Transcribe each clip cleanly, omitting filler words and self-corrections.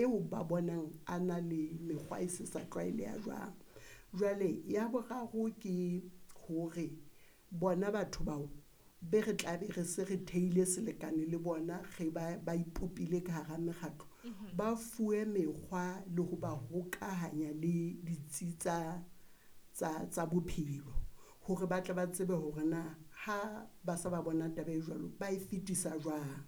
eo ba bonang a na le mekgwa e se sa tlwaeleha jwang. Jwale ya boraro ke hore bona batho bao be re tla be re se re theile selekane le bona, re ba ipopile ka hara mekgatlo, ba fuwe mekgwa le ho ba hokahanya le ditsi tsa bophelo, hore ba tle ba tsebe hore na ha ba se ba bona taba e jwalo, ba e fetisa jwang.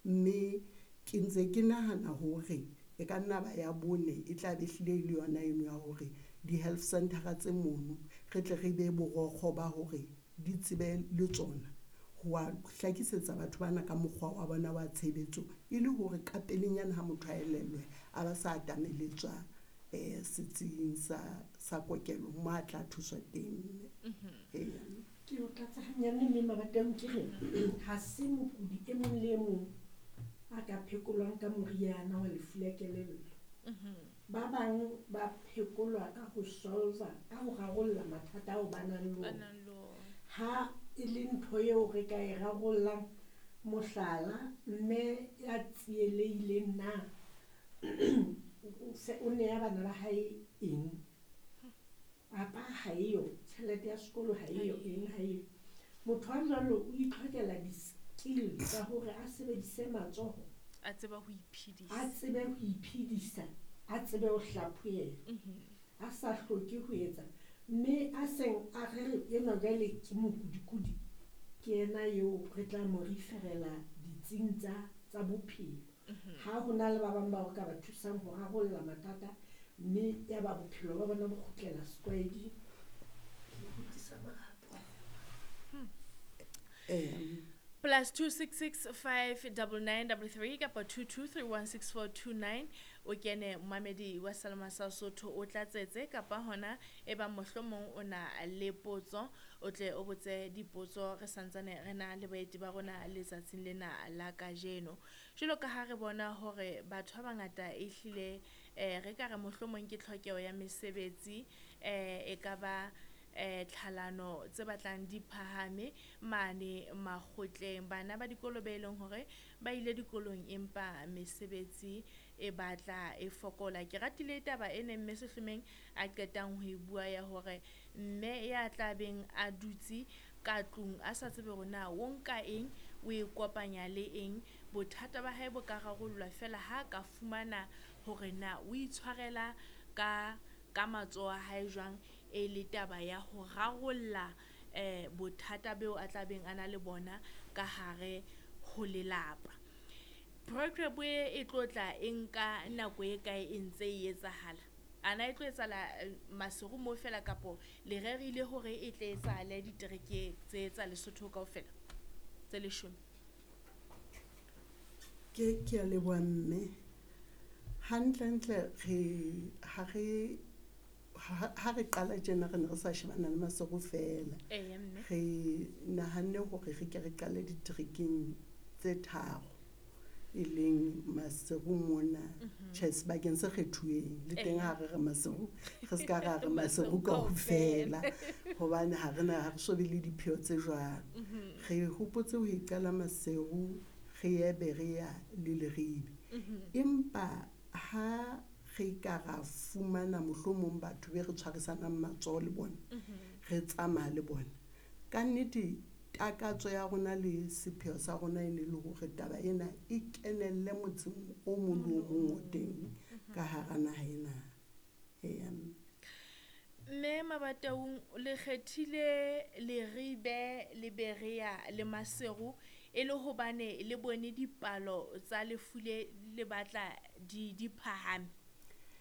Mme ke ntse ke nahana hore e ka nna ba ya bone e tla be hlile e le yona eno ya hore di-health center-a tse mono, re tle re be borokgo ba hore di tsebe le tsona ho wa hlakisetsa batho bana ka mokgwa wa bona wa tshebetso, e le hore ka pelenyana ha motho a elellwe, a ba sa atameletswa setsing sa kokelo mo a tla thuswa teng. Eya. Ke o tlatsa hanyane mme Mabataung ke re ha se mokudi e mong le e mong a ka phekolwang ka moriana wa lefu la kelello. Ba bang ba phekolwa ka ho solva, ka ho rarolla mathata ao ba nang le Ba ona. nang le ona. Ha e le ntho eo re ka e rarollang, mohlala, mme ya tsielehileng na o neya bana ba hae eng? Papa ha eyo, tjhelete ya sekolo ha eyo, eng ha eyo. Motho a jwalo o itlhokela di-skill tsa hore a sebedise matsoho. A tsebe ho iphedisa. A tsebe ho iphedisa, a tsebe ho hlaphohelwa. A sa hloke ho etsa. Mme a seng a re re enwa jwale ke mokudikudi, ke yena eo re tla mo referela ditsing tsa bophelo. Ha ho na le ba bang bao re ka ba thusang ho rarolla mathata, mme ya ba bophelo ba bona bo kgutlela setlwaeding. Ke kgutlisa marapo. Plus 266 5 99 33 kapa 22316429, o kene momamedi wa Salema sa Sotho, o tlatsetse kapa hona e ba mohlomong o na le potso, o tle o botse dipotso. Re santsane re na le baeti ba rona letsatsing lena la kajeno. Jwalo ka ha re bona hore batho ba bangata ehlile re ka re mohlomong ke tlhokeho ya mesebetsi, e ka ba tlhalano tse batlang di phahame mane makgotleng, bana ba dikolo be leng hore ba ile dikolong empa mesebetsi e batla e fokola. Ke ratile taba e neng mme Sehlomeng a qetang ho e bua ya hore mme ya tla beng a dutse ka tlung a sa tsebe hore na o nka eng, o e kopanya le eng, bothata ba hae bo ka rarollwa fela ha ka fumana hore na o itshwarela ka matsoho a hae jwang, e le taba ya ho rarolla bothata beo a tla beng a na le bona ka hare ho lelapa. Program e tlo tla e nka nako e kae e ntse e etsahala? Ana e tlo etsahala Maseru mo fela, kapo le rerile hore e tle etsahale ditereke tse tsa Lesotho kaofela tse 10? Ke a leboha mme. Hantlentle re ha re ha re qala tjena re ne re sa shebana le Maseru fela. Eya mme. Re nahanne hore re ke re qale diterekeng tse tharo, e leng Maseru mona, tjhe sebakeng se kgethuweng le teng ha re re Maseru, re ska ra re Maseru kaofela, hobane ha re na, ha re so be le dipheo tse jwalo. Re hopotse ho e qala Maseru, re ye Berea le Leribe. Empa ha re ka ra fumana mohlomong batho be re tshwarisanang matsoho le bona, re tsamaya le bona, ka nnete takatso ya rona le sepheo sa rona e ne le hore taba ena e kenelle motseng o mong le o mong o teng ka hara naha ena. Eya mme. Mme Mabataung, le kgethile Leribe le Berea le Maseru e le hobane le bone dipalo tsa lefu le batla di phahame,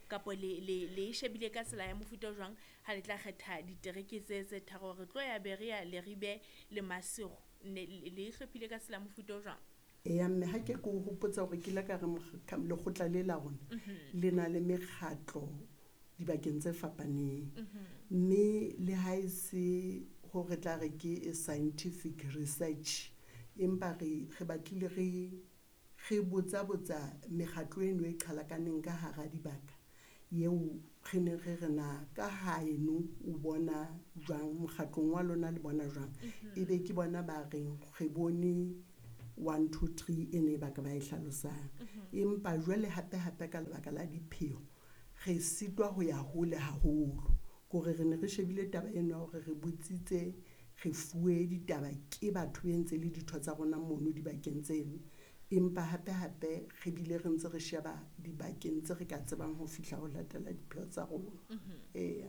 kapo le shebile ka tsela ya mofuta o jwang ha le tla kgetha ditereke tse tharo, re tlo ya Berea, Leribe le Maseru? Ne le hlophile ka tsela ya mofuta o jwang? Eya mme, ha ke ko hopotsa hore ke ile ka re lekgotla le la rona le na le mekgatlo dibakeng tse fapaneng. Mme le ha e se hore tla re ke scientific research, empa re batlile re botsa botsa mekgatlo eno e qhalakaneng ka hara dibaka, eo re ne re re na ka haeno o bona jwang, mokgatlong wa lona le bona jwang. Ebe ke bona ba reng re bone 1 2 3 e ne ba ka ba e hlalosang. Empa jwale hape hape ka lebaka la dipheo re sitwa ho ya hole haholo. Kore re ne re shebile taba eno ya hore re botsitse, re fuwe ditaba ke batho be ntse le ditho tsa rona mono dibakeng tseno. Empa hape hape re bile re ntse re sheba dibakeng tse re ka tsebang ho fihla ho latela dipheo tsa rona. Eya.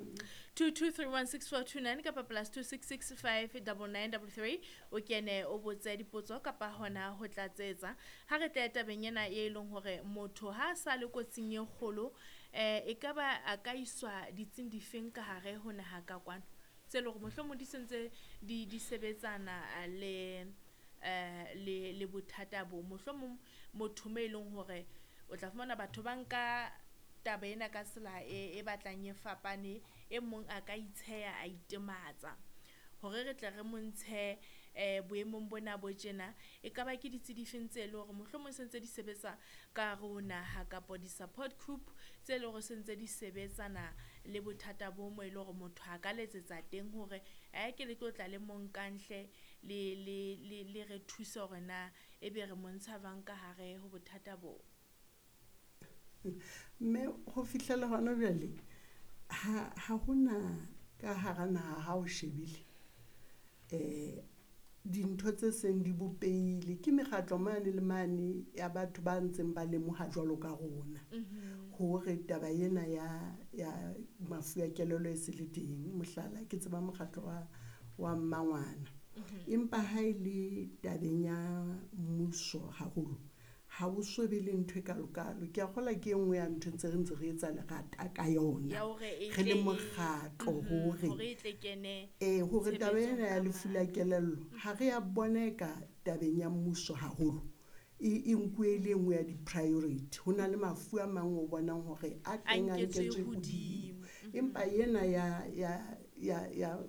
22316429 kapa +266 59933 o kene o botse dipotso kapa hona ho tlatsetsa. Ha re tle tabeng ena e leng hore motho ha a sa le kotsing e kgolo, e ka ba a ka iswa ditsing difeng ka hare ho naha ka kwano tse leng hore mohlomong di sentse di sebetsana le bothata bo, mohlomong motho mo e leng hore o tla fumana batho ba nka taba ena ka tsela e batlang e fapane, e mong a ka itsheya a itematsa hore re tle re montshe boemong bona bo tjena. E ka ba ke ditsi difeng tse leng hore mohlomong se ntse di sebetsa ka hare ho naha, kapa di-support group tse leng hore se ntse di sebetsana le bothata bo mo e leng hore motho a ka letsetsa teng hore ke le tlo tla le mo nkanhle le re thuse hore na ebe re montsha jwang ka hare ho bothata bo? Mme ho fihlela hona jwale ha hona ka hara naha ha o shebile dintho tse seng di bopehile ke mekgatlo mane le mane ya batho ba ntseng ba lemoha jwalo ka rona hore taba ena ya mafu a kelello e se le teng. Mohlala, ke tseba mokgatlo wa mmangwana. Empa ha e le tabeng ya mmuso haholo, ha o so be le ntho e kalo-kalo. Ke a kgolwa ke e nngwe ya ntho ntse re ntse re etsa lerata ka yona Ya hore e re le tle mokgatlo hore hore e tle kene hore taba ena ya tshebetsong ka lefu la matla. Kelello ha re ya bona e ka tabeng ya mmuso haholo e nkuwe e le e nngwe ya di-priority. Ho na le mafu a mang o bonang hore a A teng a nketswe nketswe hodimo. hodimo, empa ena ya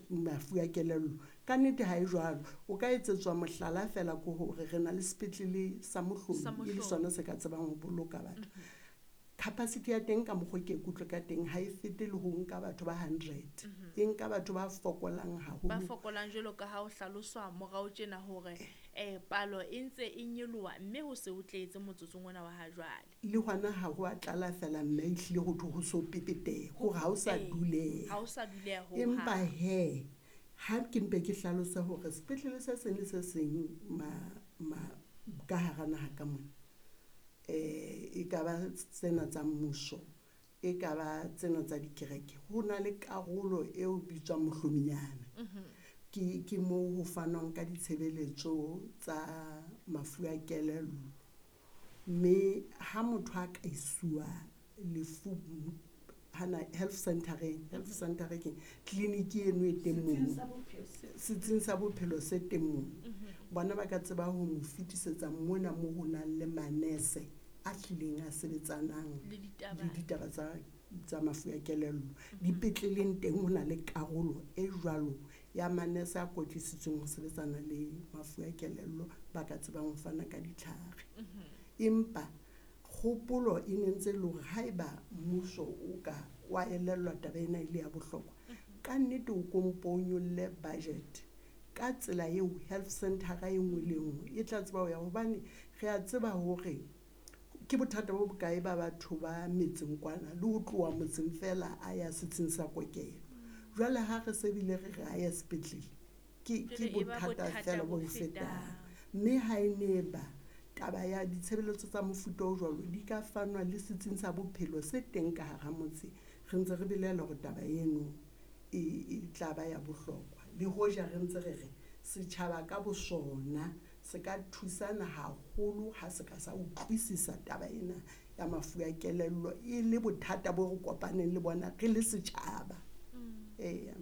mafu a kelello ka nnete ha e jwalo. O ka etsetswa mohlala fela ke hore re na le sepetlele sa Sa Mohlomi e le Mohlomi. sona se ka tsebang ho boloka batho. Capacity ya teng ka mokgo ke ikutlwe ka teng ha e fete le ho nka batho ba 100, e nka batho ba fokolang Ba haholo. fokolang jwalo ka ha o hlaloswa morao tjena hore palo e ntse e nyoloha mme ho se ho tletse motsotsong ona wa ha jwale. Le hona ha ho a tlala fela, mme ehlile ho thwe ho so pepeteha hore ha o sa duleha. Ha o sa duleha ho Empa hang. hee ha ke mpe ke hlalose hore sepetlele se seng le se seng ma ka hara naha ka mona, e ka ba tsena tsa mmuso, e ka ba tsena tsa dikereke, ho na le karolo eo bitswang mohlominyana. Ke moo ho fanwang ka ditshebeletso tsa mafu a kelello. Mme ha motho a ka isuwa lefu hana health center-eng, health center ke clinic eno e teng Setsing mono, sa bophelo. Setsing sa bophelo se teng mono, bona ba ka tseba ho mo fetisetsa mona mo ho nang le manese a hlileng a sebetsanang Le ditaba. le ditaba tsa mafu a kelello. Dipetleleng teng ho na le karolo e jwalo ya manese a kwetlisitsweng ho sebetsana le mafu a kelello, ba ka tsebang ho fana ka ditlhare. Empa kgopolo e ne ntse e le hore haeba mmuso o ka wa elellwa taba ena e le ya bohlokwa, ka nnete o ko mpo o nyolle budget ka tsela eo health center e nngwe le nngwe e tla tseba ho ya, hobane re a tseba hore ke bothata bo bokae ba batho ba metseng kwana le ho tloha motseng fela a ya setsing sa kokelo. Jwale ha re se bile re re a ya sepetlele, ke Jwale e ba bothata bothata fela bo bo fetang. fetang. Mme ha e ne ba taba ya ditshebeletso tsa mofuta o jwalo di ka fanwa le setsing sa bophelo se teng ka hara motse, re ntse re belaela hore taba eno e tla ba ya bohlokwa. Le hoja re ntse re re setjhaba ka bosona se ka thusana haholo ha se ka sa utlwisisa taba ena ya mafu a kelello e le bothata bo re kopaneng le bona re le setjhaba. Eya.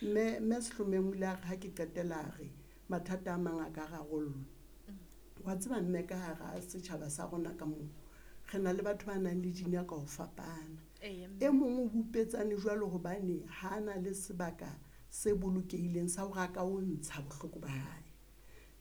Mme Sehlomeng o ile a re ha ke qetela a re mathata a mang a ka rarollwa. Wa tseba mme ka hara setjhaba sa rona ka moo re na le batho ba nang le dinako ho fapana. Eya, E mong o bupetsane jwalo hobane ha na le sebaka se bolokehileng sa hore a ka o ntsha bohloko ba hae,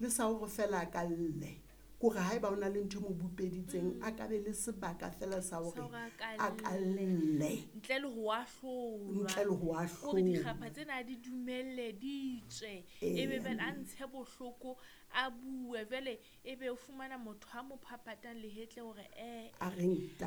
le sa hore fela a ka lle. Kore ha eba o na le ntho e mo bupeditseng, a ka be le sebaka fela sa hore Sa hore a a ka ka lle. Ntle le ho ahlolwa. Ntle le ho Hore ahlolwa. dikgapha tsena a di dumelle di tswe, ebe jwale a ntshe bohloko, a bue. Jwale ebe o fumana motho a mo phaphatang lehetla hore A reng?